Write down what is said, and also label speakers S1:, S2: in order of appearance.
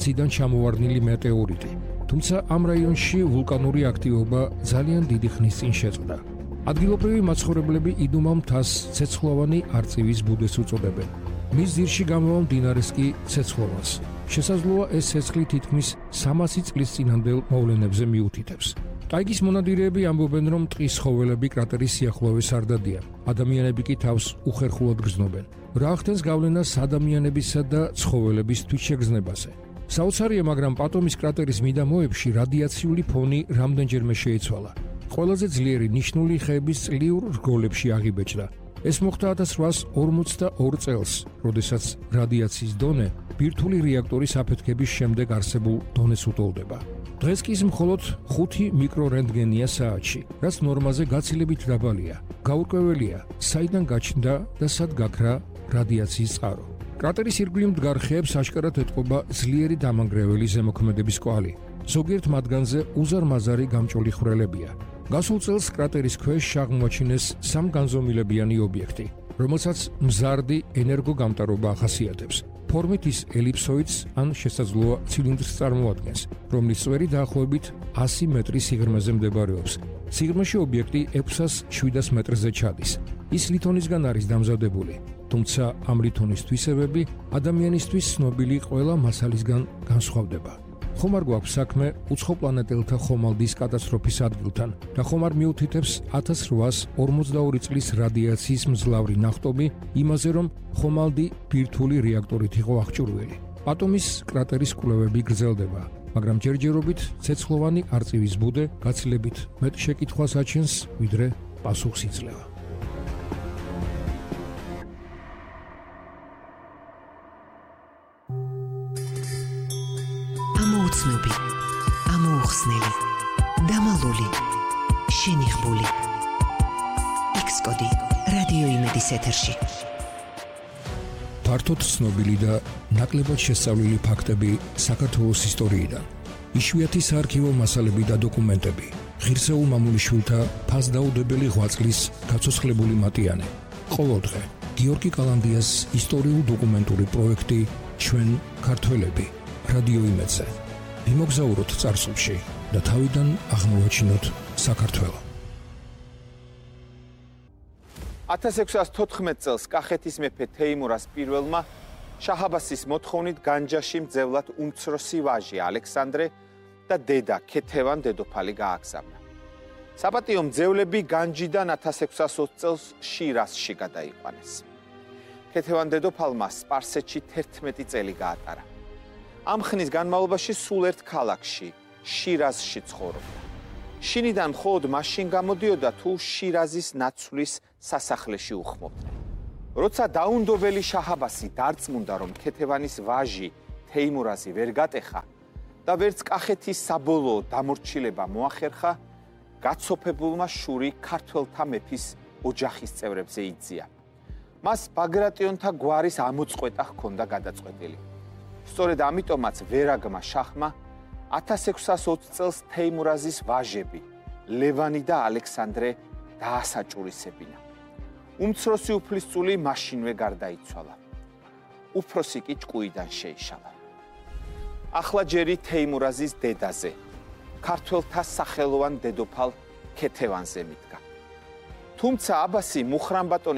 S1: მასიდან ჩამოვარდნილი მეტეორიტი. თუმცა ამ რაიონში ვულკანური აქტივობა ძალიან დიდი ხნის წინ შეწყდა. ადგილობრივი მაცხოვრებლები იდუმალ მთას ცეცხლოვანი არწივის ბუდეს უწოდებენ. მის ძირში გამოვა მდინარეს კი ცეცხლოვანს. შესაძლოა ეს ცეცხლი თითქმის 300 წლის წინანდელ მოვლენებზე მიუთითებს. ტაიგის მონადირეები ამბობენ, რომ ტყის ცხოველები კრატერის სიახლოვეს არ დადიან. ადამიანები კი თავს უხერხულად გრძნობენ. რა ახდენს გავლენას ადამიანებისა და ცხოველების თვითშეგრძნებაზე. საოცარია, მაგრამ პატომის კრატერის მიდამოებში რადიაციული ფონი რამდენჯერმე შეიცვალა. ყველაზე ძლიერი ნიშნული ხეების წლიურ რგოლებში აღიბეჭდა. ეს მოხდა 1842 წელს, როდესაც რადიაციის დონე ბირთვული რეაქტორის აფეთქების შემდეგ არსებულ დონეს უტოლდება. დღეს კი მხოლოდ 5 მიკრორენტგენია საათში, რაც ნორმაზე გაცილებით დაბალია. გაურკვეველია, საიდან გაჩნდა და სად გაქრა რადიაციის წყარო. კრატერის ირგვლივ მდგარ ხეებს აშკარად ეტყობა ძლიერი დამანგრეველი ზემოქმედების კვალი. ზოგიერთ მათგანზე უზარმაზარი გამჭოლი ხვრელებია. გასულ წელს კრატერის ქვეშ აღმოაჩინეს სამგანზომილებიანი ობიექტი, რომელსაც მზარდი ენერგოგამტარობა ახასიათებს. ფორმით ის ელიფსოიდს ან შესაძლოა ცილინდრს წარმოადგენს, რომლის წვერი დაახლოებით 100 მეტრის სიღრმეზე მდებარეობს. სიღრმეში ობიექტი 600-700 მეტრზე ჩადის. ის ლითონისგან არის დამზადებული, თუმცა ამ ლითონის თვისებები ადამიანისთვის ცნობილი ყველა მასალისგან განსხვავდება. ხომ არ გვაქვს საქმე უცხოპლანეტელთა ხომალდის კატასტროფის ადგილთან და ხომ არ მიუთითებს 1842 წლის რადიაციის მძლავრი ნახტომი იმაზე, რომ ხომალდი ბირთვული რეაქტორით იყო აღჭურვილი. პატომის კრატერის კვლევები გრძელდება, მაგრამ ჯერჯერობით ცეცხლოვანი არწივის ბუდე გაცილებით მეტ შეკითხვას აჩენს, ვიდრე პასუხს იძლევა.
S2: ამოუცნობი, ამოუხსნელი, დამალული, შენიღბული. X-კოდი რადიო იმედის ეთერში.
S1: ფართოდ ცნობილი და ნაკლებად შესწავლილი ფაქტები საქართველოს ისტორიიდან. იშვიათი საარქივო მასალები და დოკუმენტები. ღირსეულ მამულიშვილთა ფასდაუდებელი ღვაწლის გაცოცხლებული მატიანე. ყოველდღე გიორგი კალანდიას ისტორიულ-დოკუმენტური პროექტი ჩვენ ქართველები რადიო იმედზე. მიმოგზაუროთ წარსულში და თავიდან აღმოვაჩინოთ საქართველო.
S3: 1614 წელს კახეთის მეფე თეიმურას პირველმა შაჰ-აბასის მოთხოვნით განჯაში მძევლად უმცროსი ვაჟი ალექსანდრე და დედა ქეთევან დედოფალი გააგზავნა. საპატიო მძევლები განჯიდან 1620 წელს შირაზში გადაიყვანეს. ქეთევან დედოფალმა სპარსეთში 11 წელი გაატარა. ამ ხნის განმავლობაში სულ ერთ ქალაქში, შირაზში ცხოვრობდა. შინიდან მხოლოდ მაშინ გამოდიოდა, თუ შირაზის ნაცვლის სასახლეში უხმობდნენ. როცა დაუნდობელი შაჰ-აბასი დარწმუნდა, რომ ქეთევანის ვაჟი თეიმურაზი ვერ გატეხა და ვერც კახეთის საბოლოო დამორჩილება მოახერხა, გაცოფებულმა შური ქართველთა მეფის ოჯახის წევრებზე იძია. მას ბაგრატიონთა გვარის ამოწყვეტა ჰქონდა გადაწყვეტილი. სწორედ ამიტომაც ვერაგმა შაჰმა 1620 წელს თეიმურაზის ვაჟები ლევანი და ალექსანდრე დაასაჭურისებინა. უმცროსი უფლისწული მაშინვე გარდაიცვალა. უფროსი კი ჭკუიდან შეიშალა. ახლა ჯერი თეიმურაზის დედაზე, ქართველთა სახელოვან დედოფალ ქეთევანზე მიდგა. თუმცა აბასი მუხრანბატონის